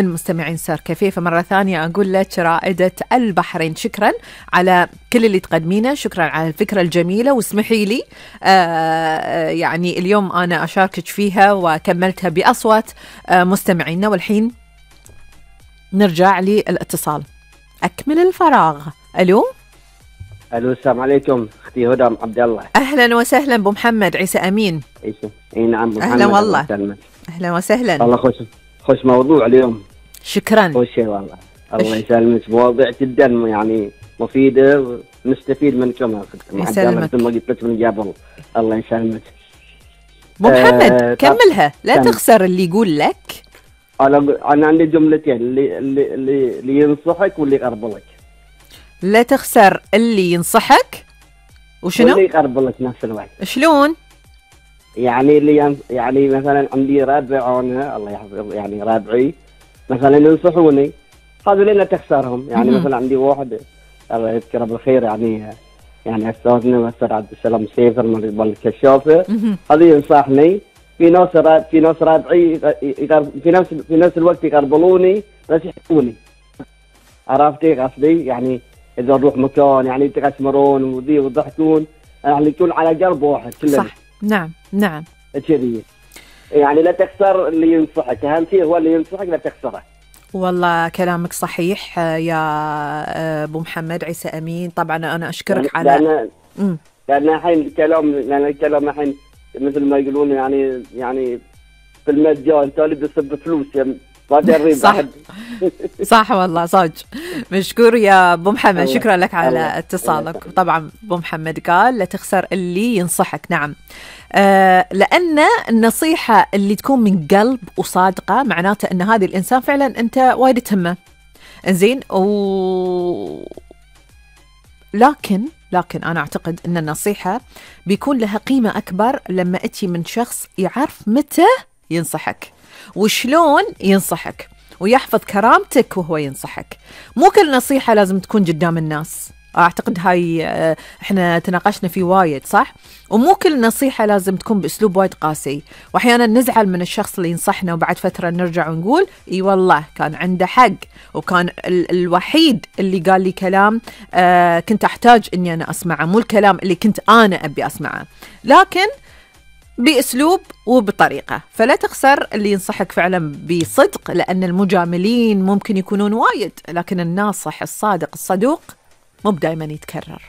المستمعين صار كفيفة مرة ثانية أقول لك رائدة البحرين، شكرا على كل اللي تقدمينه، شكرا على الفكرة الجميلة، واسمحي لي يعني اليوم أنا أشاركك فيها وكملتها بأصوات مستمعينا. والحين نرجع للاتصال، أكمل الفراغ. ألو السلام عليكم اختي هدى عبد الله. اهلا وسهلا ابو محمد عيسى امين. اي نعم ابو محمد. اهلا والله. اهلا وسهلا. والله خوش موضوع اليوم. شكرا. خوش شيء والله. الله يسلمك، مواضيع جدا يعني مفيده ونستفيد منكم. يسلمك. مثل ما قلت لك من قبل. الله يسلمك ابو محمد كملها، لا تخسر اللي يقول لك. انا عندي جملتين، اللي ينصحك واللي يقرب لك. لا تخسر اللي ينصحك وشنو؟ واللي يقرب لك نفس الوقت. شلون؟ يعني يعني مثلا عندي رابع انا الله يحفظه، يعني رابعي مثلا ينصحوني، هذول لا تخسرهم. يعني مثلا عندي واحد الله يذكره بالخير، يعني استاذنا الاستاذ عبد السلام سيفر من الكشافه، هذا ينصحني. في ناس رابعي في نفس الوقت يقربلوني بس يحبوني. عرفتي قصدي؟ يعني إذا نروح مكان يعني يتقسمرون وذي ويضحكون، يعني يكون على قلب واحد كلنا. صح. نعم كذي. يعني لا تخسر اللي ينصحك، أهم شيء هو اللي ينصحك لا تخسره. والله كلامك صحيح يا أبو محمد عيسى أمين. طبعا أنا أشكرك على لأن الحين الكلام الحين مثل ما يقولون يعني في المجال تالي بيصب فلوس يعني. صح والله صاج. مشكور يا ابو محمد، شكرا لك على اتصالك. طبعا ابو محمد قال لا تخسر اللي ينصحك. نعم، لأن النصيحة اللي تكون من قلب وصادقة معناته أن هذه الإنسان فعلا أنت وايد تهمه. إنزين لكن أنا أعتقد أن النصيحة بيكون لها قيمة أكبر لما أتي من شخص يعرف متى ينصحك وشلون ينصحك ويحفظ كرامتك وهو ينصحك. مو كل نصيحة لازم تكون قدام الناس، أعتقد هاي إحنا تناقشنا فيه وايد صح. ومو كل نصيحة لازم تكون بأسلوب وايد قاسي، وأحيانا نزعل من الشخص اللي ينصحنا وبعد فترة نرجع ونقول إي والله كان عنده حق، وكان الوحيد اللي قال لي كلام كنت أحتاج إني أنا أسمعه، مو الكلام اللي كنت أنا أبي أسمعه، لكن بأسلوب وبطريقة. فلا تخسر اللي ينصحك فعلا بصدق، لأن المجاملين ممكن يكونون وايد، لكن الناصح الصادق الصدوق مو دائما يتكرر.